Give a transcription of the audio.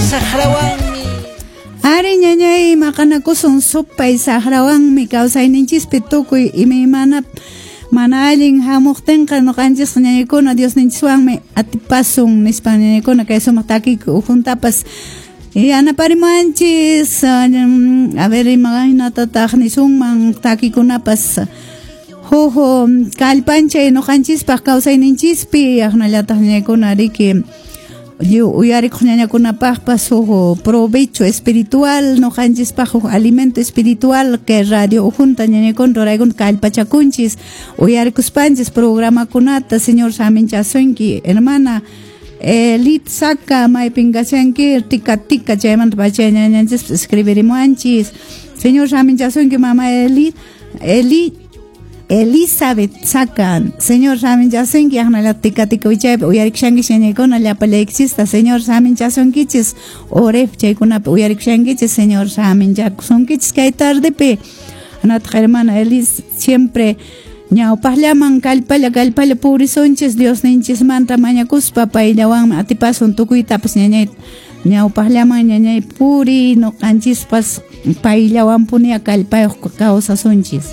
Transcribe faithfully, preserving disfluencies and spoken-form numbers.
saqrawanmi. Ari ñañay maqanakusun supay saqrawanmi kawsayninchispi tukuy imaymana mana allin hamuqtinqa ñuqanchisqa ñañaykuna Diosninchiswanmi atipasun nispa ñañaykuna kay sumaq takiku ukhuntapas yanaparimanchis. A ver, imaynatataq nisunman takikunapas huk kallpanchay ñuqanchispaq kawsayninchispi aqnallataq ñañaykuna riki lliw uyarikuq ñañakunapaqpas huk provecho espiritual ñuqanchispaq huk alimento espiritual que radio ukhunta ñañaykuna ruraykuna kallpachakunchis uyarikuspanchis programakunata. Señor saminchasunki, hermana Elit Saka, maypin kashanki tika tika chaymanta pacha ñañanchispas escribirimuanchis. Señor saminchasunki, mama Elit Eli Elizabeth Saka, Señor saminchasunki, aqnalla tika tika wichaypi uyarikushankichis ñañaykuna llapallaykichista. Señor saminchasunkichis oref chaykunapi uyarikushankichis. Señor saminchakusunkichis kay tardepi. Anataq hermana Elis siempre ñawpaqllaman kallpalla kallpalla purisunchis Diosninchismanta mañakuspa payllawanmi atipasun tukuytapas ñañay ñawpaqllaman ñañay puri ñuqanchispas payllawanpuni kallpayuq kawsasunchis.